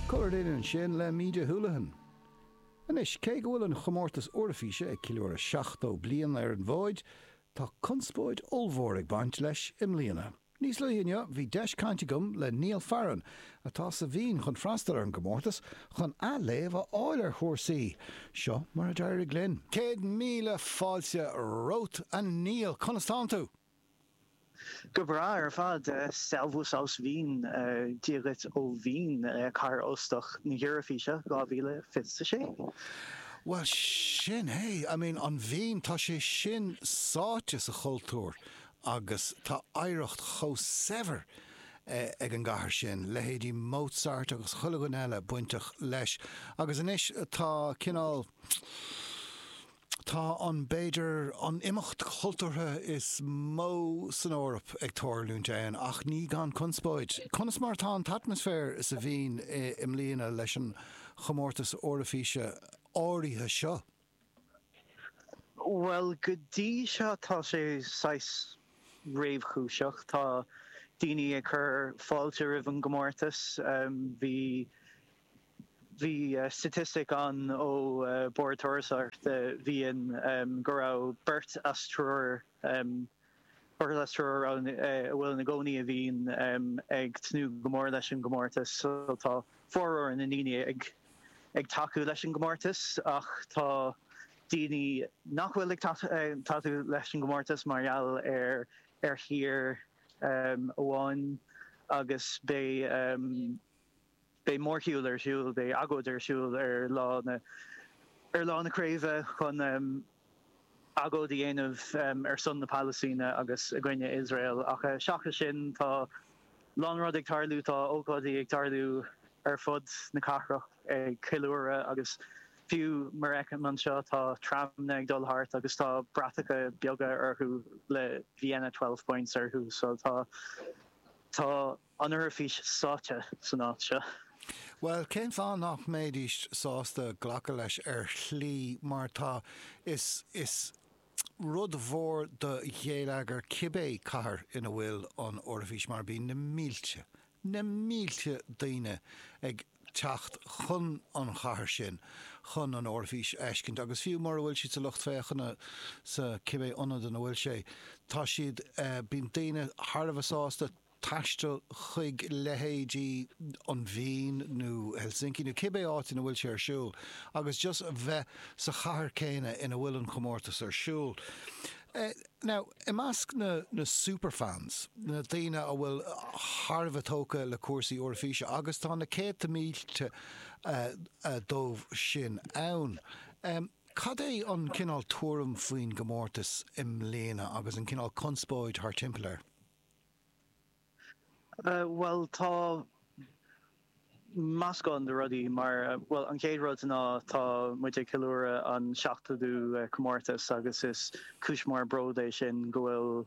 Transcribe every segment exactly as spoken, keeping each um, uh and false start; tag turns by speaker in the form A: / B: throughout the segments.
A: Coloured In ansin le Míde Houlihan. Anois cé go bhfuil an chomórtas Eoraifíse ag ceiliúradh seachtó bliain ar an bhfód, tá conspóid ollmhór ag baint leis i mbliana. Níos luaithe inniu bhí deis cainte agam le Niall Farren, atá sa Vín chun freastal ar an gcomórtas chun athléamh a fháil ar chúrsaí. Seo mar a d'éirigh linn. Céad míle fáilte romhat a Niall, conas tánn tú?
B: Go breá ar fad Servus aus Wien Dia dhuit ó Vín cathair óstach na hEoraifíse dhá mhíle fiche a sé.
A: Well sin é, I mean an Vín tá sé sin sáite sa chultúr agus tá oidhreacht chomh saibhir ag an gcathair sin, leithéidí Mozart agus chuile dhuine eile bainteach leis. Agus anois tá cineál, tá an, b'fhéidir, an imeacht cultúrtha is mó san Eoraip ag tarlúint ann, ach ní gan conspóid. Conas mar atá an t-atmaisféar sa Vín i mbliana leis an chomórtas Eoraifíse áirithe seo?
B: Bhuel, go dtí seo tá sé saghas réchúiseach. Tá daoine ag cur fáilte roimh an gcomórtas. Bhí bhí staitistic ann ó Bord Turasóireachta Vín go raibh beirt as triúr beirt as triúr a bhfuil ina gcónaí i Vín ag tnúth go mór leis an gcomórtas. So tá formhór na ndaoine ag ag tacú leis an gcomórtas ach tá daoine nach bhfuil ag tacú leis an gcomórtas mar gheall ar ar thír amháin agus beidh beidh mórshiúl ar siúl, beidh agóid ar siúl ar lá na ar lá na craoibhe chun agóid a dhéanamh ar son na Palaistíne agus i gcoinne Iosrael. Ach seachas sin tá lán rud ag tarlú, tá ócáidí ag tarlú ar fud na cathrach ag ceiliúradh agus fiú mar a fheicim anseo tá tramanna ag dul thart agus tá bratacha beaga orthu le Vienna twelve points orthu so tá tá an Eoraifís sáite san áit seo.
A: Bhuel, cén fáth nach mbeidís sásta glacadh leis ar shlí mar tá is is rud mhór do gheilleagar cibé cathair ina bhfuil an Eoraifís mar bíonn na mílte, na mílte daoine ag teacht chun an chathair sin chun an Eoraifís a fheiscint agus fiú mura bhfuil siad sa lucht féachana sa cibé ionad ina bhfuil sé, tá siad, bíonn daoine thar a bheith sásta taisteal chuig leithéidí an Vín nó Helsinki nó cibé áit ina bhfuil sé ar siúl agus just bheith sa chathair céanna ina bhfuil an comórtas ar siúl. Now, i measc na na superfans, na daoine a bhfuil thar a bheith tógtha le cúrsaí Eoraifíse agus tá na céadta mílte dóibh sin ann, cad é an cineál tuairim faoin gcomórtas i mbliana agus an cineál conspóid thar timpeall air?
B: Bhuel, tá meascán de rudaí mar, bhuel, an chéad rud ná tá muid ag ceiliúradh an seachtódú comórtas agus is cúis mór bród é sin go bhfuil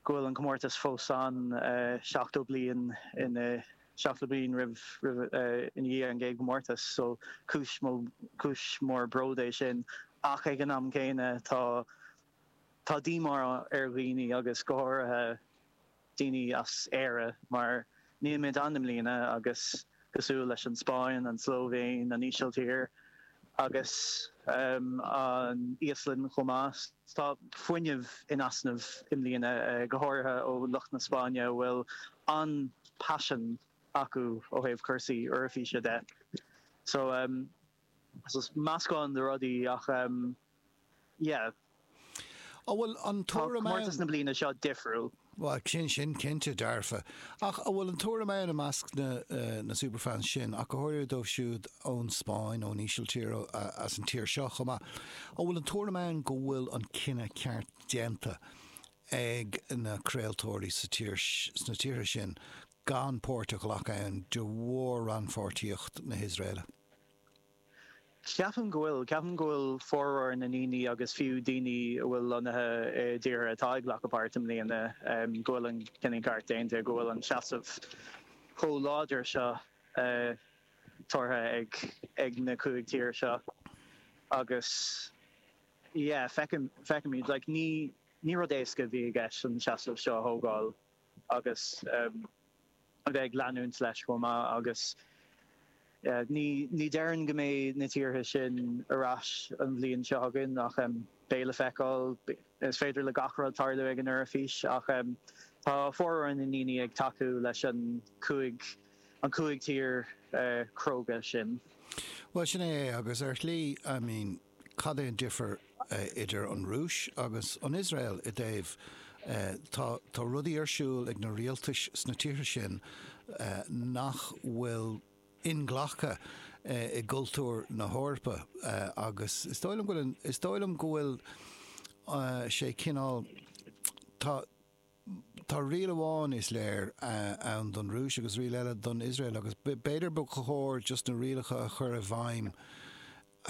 B: go bhfuil an comórtas fós ann seachtó bliain ina seachtó bliain roimh roimh ina dhiaidh an gcéad chomórtas so cúis cúis mór bród é sin ach ag an am céanna tá tá díomá ar dhaoine agus go háirithe daoine as Éire mar nílimid ann i mbliana agus cosúil leis an Spáinn, an tSlóivéin, an Ísiltír agus an Íoslainn chomh maith. Tá fuinneamh in easnamh i mbliana, go háirithe ó lucht na Spáinne a bhfuil an-paisean acu ó thaobh cúrsaí Eoraifíse de. So meascán de rudaí ach yeah.
A: An bhfuil an
B: Tá
A: tuairim
B: comórtas
A: ann?
B: na bliana seo difriúil.
A: Bhuel, sin sin cinnte dearfa. Ach an bhfuil an tuairim ann i measc na na superfans sin, ach go háirithe dóibh siúd ón Spáinn, ón Ísiltír, as an tír seo chomh maith, an bhfuil an tuairim ann go bhfuil an cinneadh ceart déanta ag na craoltóirí sa tír sna tíortha sin gan páirt a ghlacadh ann de bharr rannpháirtíocht na hIosraeile?
B: Ceapaim go bhfuil. Ceapaim go bhfuil formhór na ndaoine agus fiú daoine a bhfuil lonnaithe i dtíortha atá ag glacadh páirt i mbliana, go bhfuil an cinneadh ceart déanta, go bhfuil an seasamh chomh láidir seo tabhartha ag ag na cúig tír seo agus yeah, feicim, feicimid, like ní, ní rud éasca a bhí i gceist an seasamh seo a thógáil agus a bheith ag leanúint leis chomh maith agus yeah, ní ní déarfainn go mbeidh na tíortha sin ar ais an bhliain seo chugainn ach um, beidh le feiceáil is féidir le gach rud tarlú ag an Eoraifís ach um, tá formhór na ndaoine ag tacú leis an cúig an cúig tír uh, cróga sin.
A: Well sin é agus ar shlí I mean, cad é an difear uh, idir an Rúis agus an Iosrael i dtaobh uh, tá tá rudaí ar siúl ag na rialtais sna tíortha sin uh, nach bhfuil inghlactha uh, i gcultúr na hEorpa uh, agus is dóigh liom go bhfuil is dóigh liom go bhfuil uh, sé cineál tá Tá riail amháin is léir uh, ann don Rúis agus riail eile don Iosrael agus b'fhéidir ba chóir just na rialacha a chur i bhfeidhm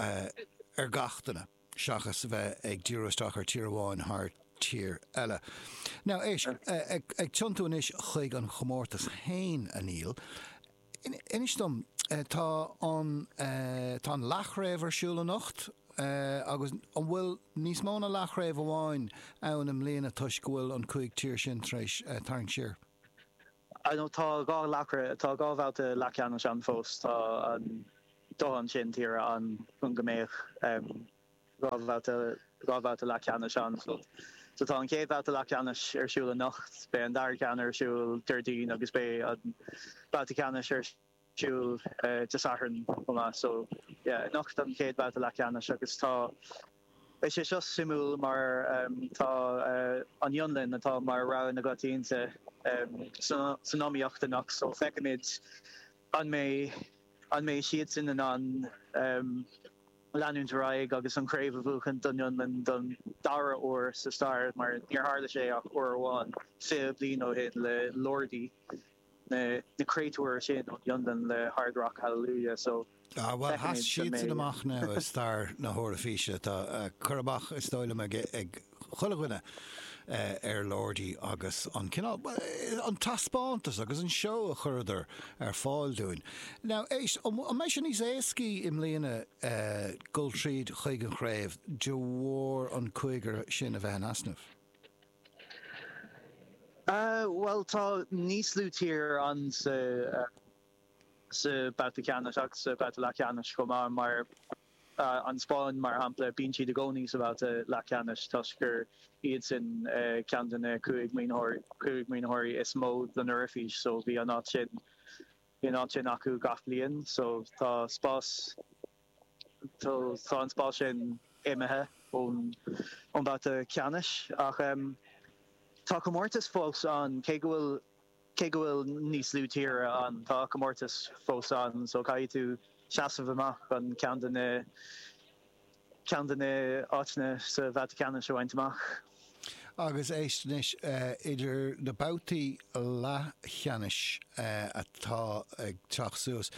A: uh, ar gach duine seachas a bheith ag díriú isteach ar tír amháin thar tír eile. Now éist ag, ag tiontú anois chuig an chomórtas féin a Neil. Inis dom tá an tá an leathchraobh ar siúl anocht agus an bhfuil níos mó ná leathchraobh amháin ann i mbliana toisc go bhfuil an cúig tír sin tar éis tarraingt siar.
B: I know tá dhá leathchraobh tá dhá bhabhta leathcheannais ann fós tá an dóthain sin tír ann chun go mbeadh dhá bhabhta dhá bhabhta leathcheannais ann so so tá an chéad bhabhta leathcheannais ar siúl anocht beidh an dara ceann ar siúl Déardaoin agus beidh an babhta ceannais ar siúl Dé Sathairn chomh maith so yeah anocht an chéad bhabhta leathcheannais agus tá Beidh sé seo suimiúil mar um, tá uh, an Fhionlainn atá mar rogha na gcoitianta um, san iomaíocht anocht so feicfimid an mbeidh an mbeidh siad sin in ann um, leanúint ar aghaidh agus an chraobh a bhuachan don Fhionlainn don dara huair sa stair mar níor tharla sé ach uair amháin fiche bliain ó shin le Lordi na na créatúir sin ón Fhionlainn le Hard Rock Hallelujah so
A: Ah, well sheas siad sin amach now i stair na hEoraifíse tá uh, cur amach is dóigh liom ag ag chuile dhuine uh, ar Lordi agus an cineál an taispeántas agus an seó a chuireadar ar fáil dúinn. Now éist an mbeidh sé níos éascaí i mbliana uh, dul tríd chuig an chraobh de bharr an cúigear sin a bheith in easnamh.
B: Uh, well tá níos lú tír ann sa uh, sa babhta ceannais agus sa babhta leathcheannais chomh maith mar uh, an Spáinn mar shampla bíonn siad i gcónaí sa babhta leathcheannais toisc gur iad sin uh, ceann de na cúig cúig maoinitheoirí is mó don Eoraifís so bhí an áit sin bhí an áit sin acu gach bliain so tá spás tá an spás sin imithe ón ón babhta ceannais ach um, tá comórtas fós ann cé go bhfuil cé go bhfuil níos lú tíre ann tá comórtas fós ann so caithfidh tú seasamh amach an ceann de na ceann de na áiteanna sa bhabhta ceannais a bhaint amach.
A: Agus éist anois uh, idir na babhtaí leathcheannais uh, atá ag teacht suas.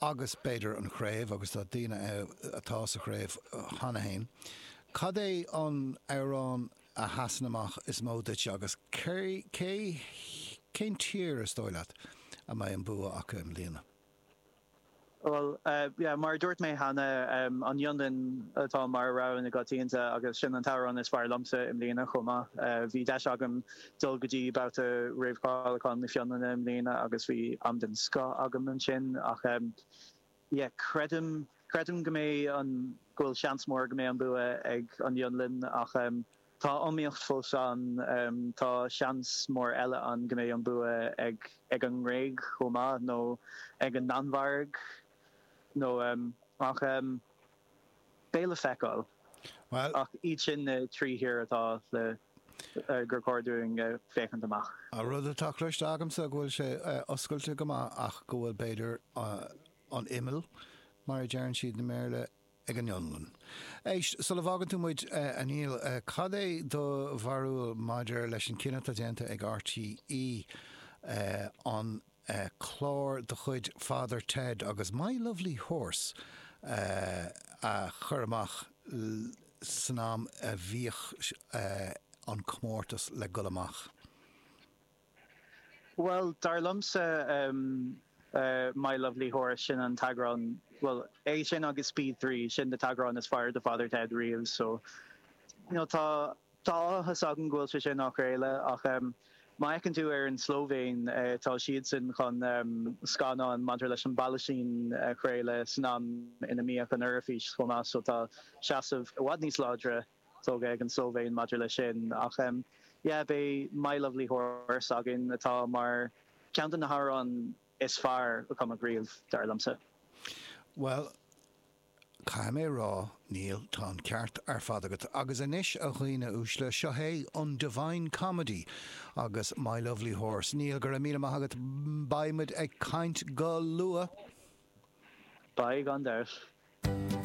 A: Agus b'fhéidir an chraobh agus tá daoine atá sa chraobh cheana féin. Cad é an amhrán a sheasann amach is mó duit agus cé cén tír is dóigh leat a mbeidh an bua acu i mbliana?
B: Well, uh, yeah, mar dúirt mé cheana um, an Fhionlainn atá mar rogha na gcoitianta agus sin an t-amhrán is fearr liomsa i mbliana chomh maith. Uh, bhí deis agam dul go dtí babhta réamhcháiliúcháin na Fionlainne i mbliana agus bhí am den scoth agam ansin ach um, yeah, creidim creidim go mbeidh an go bhfuil seans mór go mbeidh an bua ag an Fhionlainn ach um, tá iomaíocht fós ann um, tá seans mór eile ann go mbeidh an bua ag ag an nGréig chomh maith nó ag an Danmhairg nó um, ach um, beidh le feiceáil.
A: Well,
B: ach iad sin na trí thír atá le uh, gur chóir dúinn uh, féachaint amach.
A: A rud atá cloiste agamsa go bhfuil sé uh, oscailte go maith ach go bhfuil b'fhéidir uh, an imeall mar a deireann siad i mBéarla ag an Fhionlainn. Éist, sula bhfágann tú muid uh, a Neil, uh, cad é do bharúil maidir leis an cinneadh atá déanta ag RTÉ uh, an uh, clár de chuid Father Ted agus My Lovely Horse uh, a chur amach san am a bhíodh uh, an comórtas le dul amach.
B: Well, dar liomsa um, uh, My Lovely Horse sin an t-eagrán well é sin agus Speed Three sin na heagráin is fearr de Father Ted riamh so you know, tá tá áthas agam go bhfuil sé sin á chraoladh ach um, Má fhéachann tú ar an Slóivéin, tá siadsan chun scannán maidir leis an bPalaistín a chraoladh san am ina mbíodh an Eoraifís chomh maith, so tá seasamh i bhfad níos láidre tógtha ag an tSlóivéin maidir leis sin. Ach yeah, beidh My Lovely Horse againn atá mar ceann de na hamhráin is fearr a cumadh riamh, dar liomsa.
A: Bhuel, caithfidh mé a rá, Neil, tá an ceart ar fad agat. Agus anois, a dhaoine uaisle, seo é an Divine Comedy agus My Lovely Horse. Neil, go raibh míle maith agat. Beidh muid ag caint go luath.
B: Beidh, gan dabht.